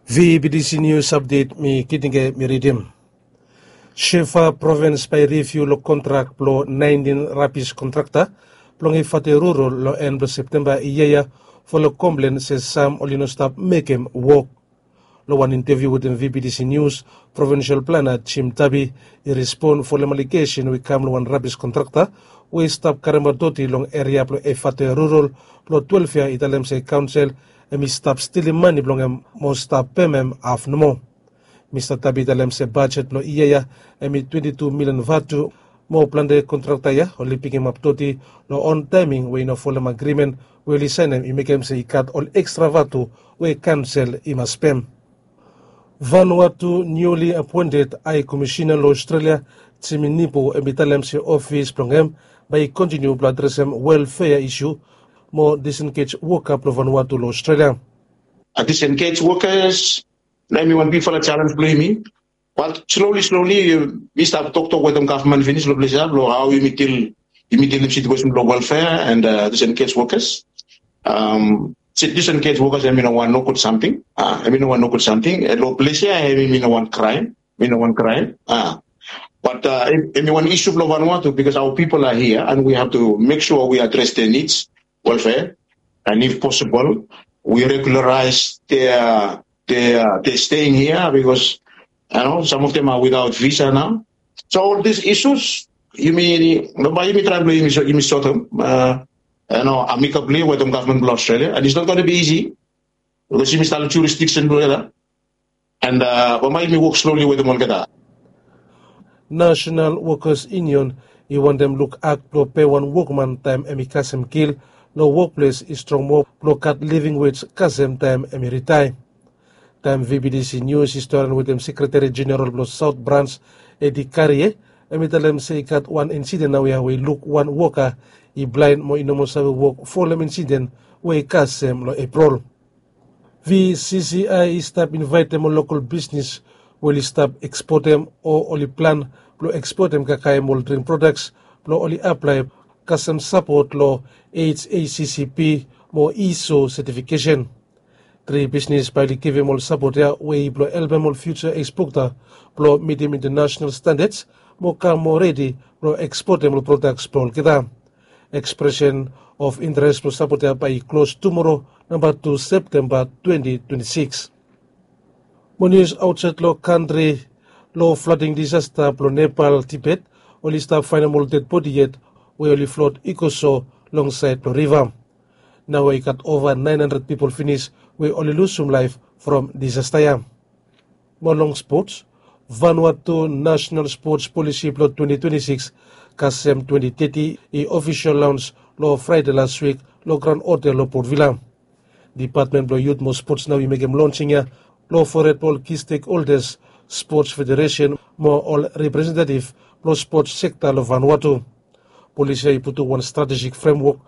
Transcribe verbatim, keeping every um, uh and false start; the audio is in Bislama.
Vbtc News Update, mi Kitinge mi ridim. Shefa provins bae i riviu long kontrak blong naentin rabis kontrakta blong Efate Rural long en blong Septemba yia ya, folem komplen se sam oli no stap mekem wok. Long wan inteviu wetem Vbtc News, provinsel plana Jim Tabi i respon folem alegesen we i kam long wan rabis kontrakta we i stap karemaot doti long eria blong Efate Rural blong twelef ya, i talem se kaonsel hemi stap stilim mane blong hem mo stap pem hem haf nomo. Mista Tabi i talem se bajet blong yia ya hemi twenti tu milian vatu, mo plante kontrakta ya oli pikimap doti long on taeming we i no folem agrimen we oli saenem i mekem se i gat ol ekstra vatu we kaonsel i mas pem. Vanuatu niuli apoented Hae Komisena long Aostralia, Jimmy Nipo, hemi talem se ofis blong hem bae i kontiniu blong adresem welfea isu mo disengej woka blong Vanuatu long Aostralia. A disengej wokas, na hemi wan bigfala jalenj blong yumi. Bat sloli sloli mi stap toktok wetem gavman finis long ples ya blong hao yumi dil, yumi dilim situesen blong welfea and disengej wokas. Disengej wokas hemi no wan nogud samting. Hemi no wan nogud samting long ples ya, hemi no wan kraem. Mi no wan kraem. Bat hemi wan isu blong Vanuatu, bikos aoa pipol a hia and wi hav tu mek sua wi adres dea nids, welfea, and if posibol wi regularaes dea, dea steing hia, bikos sam of dem a witaot visa nao. So ol dis isus, yumi, bae yumi traem blong yumi sotem. Amikabli wetem gavman blong Aostralia, and its not gonna bi isi, bikos yumi stap long jurisdiksen blong olgeta. And bambae yumi wok sloli wetem olgeta. Nasenal Wokas Yunion i wantem luk ak blong pe wan wokman taem hemi kasem kil long wokples i strong moa blong gat living wej kasem taem hemi ritaea. Taem Vbtc News i storian wetem Sekreteri Jeneral blong Saot Brans, Edi Karie, hemi talem se i gat wan insiden naoia we i luk wan woka i blaen mo i no moa save wok folem insiden we i kasem long Epril. VCCI i stap invaetem ol lokol bisnes we oli stap ekspotem o oli plan blong ekspotem kakae mo ol dring prodaks blong oli aplae kasem sapot long HACCP mo ISO setifikesen. Tri bisnes bae oli givim ol sapot ya we i blong helpem ol fiuja ekspota blong mitim intanasenal standads mo kam moa redi blong ekspotem ol prodaks blong olgeta. Ekspresen of interes blong sapot ya bae i klos tumoro, namba tu Septemba twenti twenti sikis. Mo nius aotsaed long kantri, long flading disasta blong Nepal Tibet, oli stap faenem ol dedbodi yet we oli flod i go so longsaed blong riva. Naoia i gat ova naen handred pipol finis we oli lusum laef from disasta ya. Mo long spots, Vanuatu Nasenal Spots Polisi blong twenti twenti sikis kasem twenti teti i ofisol laons long Fraede las wik long Graon Hotel long Port Vila. Dipatmen blong Yut mo Spots nao i mekem lonsing ya long fored blong ol ki stekholdas, spots federesen mo ol representetif blong spots sekta long Vanuatu. Polisi ya i putum wan stratejik fremwok